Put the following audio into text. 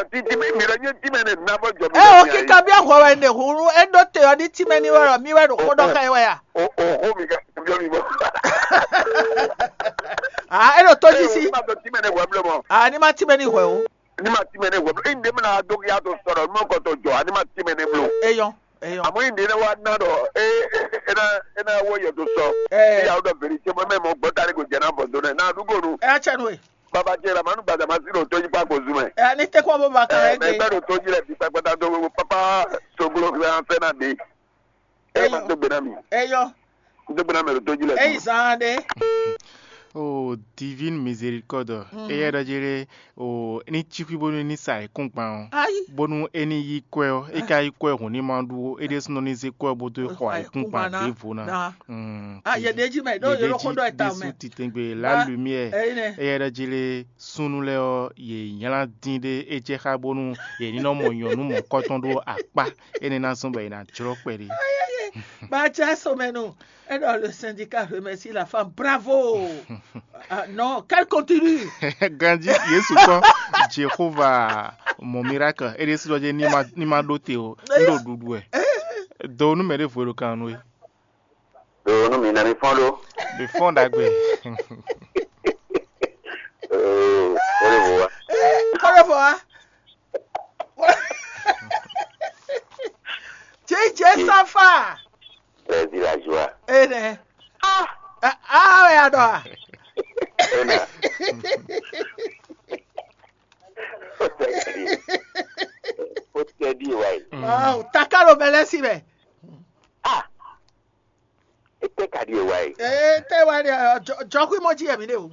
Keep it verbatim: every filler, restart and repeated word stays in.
ɖɔ títí mi mi lɔ nyɛ tí mɛ ne na bɔ jɔ mi. Ɛ o kíkà bí ahwɛ wɛ ne hunu e ɖó te ɔ ní tí mɛ ní wɛ lɔ mi wɛ ɖo kpɔ́ ɖɔ ká yi wɛ ya. O o xó mi ká byɔ mi bɔ. Ah, e ɖo tó jí sí. Ma dɔ tí mɛ ne hwɛ blɔ mɔ. Ah, ní ma tí mɛ ní hwɛ o. Ní ma tí mɛ ne hwɛ blɔ. Inde mi na dó ya to sɔrɔ mɔ kɔtɔ jɔ a ní ma tí mɛ ne blɔ. Eyɔn, eyɔn. Àmọ́ inde ne wa na dɔ e e e na e na wɔ yɛ to sɔ. Ɛ. Ìyàwó dɔ vérité mɔ mɛ mɔ gbɔta ni kò jẹ na bɔ do nɛ na dúgbò nu. Ɛ atsɛ nu e. Baba jẹ la manu gbadama sí lò tó yí pa kò zumɛ. Ɛ ní tẹ́kọ̀ bó ba kan ẹ Mɛ gbé. Gbẹ́dọ̀ tó jí lẹ̀ bí pẹpẹta tó gbogbo pápá soglo fẹ́ an fẹ́ náà dé. Ẹ Eyɔn. Máa tó gbé náà mi. Eyɔn. Tó gbé náà mi lò tó jí lẹ̀ Eyi bí. Zan ɖe. O divine miséricorde, eyɛ ɖɔ jí ɖe o ní cí xwí bónú ní sa ayǐkúngban ɔ́, Ayi. Bónú é ní yí kwɛ́ ɔ́, é ka yí kwɛ́ hǔn ní ma ɖu ó, é ɖésúnɔ ní zé kwɛ́ ɔ́ bó dó xɔ ayǐkúngban ɖěvo ná. Ná. Mm, Ah, yɛ ɖe jí mɛ, ɖó yɛ ɖe jí ɖó xó ɖɔ ta mɛ. Titengbe la lumière, Eyi nɛ. Eyɛ ɖɔ jí ɖe súnnu lɛ́ɛ ɔ́, yě nylá dín ɖé é jɛ xá bónú yě ní nɔ mɔ nyɔ̌nu mɔ̌kɔtɔn ɖó akpá énɛ́ ná zɔ́n bɔ è nǎ jlɔ́ kpɛɖé. Ba jɛ somɛ nu. Et dans le syndicat remercie la femme. Bravo. Ah, non, qu'elle continue. Ganji Yesu kpɔn Jehova mɔ miracle. É ɖésú ɖɔ jɛ ní ma ní ma ɖó te o. Ní ɖo ɖuɖu wɛ. Do nú mɛ ɖěvo e ɖo kan nú we. Do nú mi na mi fɔn ɖó. Mi fɔn ɖagbe. Oo, o ɖe vo wa. Kɔɖɔ fɔ wa. Jɛ jɛ safa. Plaisir la joie. Ene. Ah, ah, ya dɔ. Ena. O tɛ di. O tɛ di wa yi. Wow, takalo bɛlɛ si bɛ. Ah. E tɛ ka di wa yi. Eh, te wa ni jɔkui mɔ ji yɛ mi de o.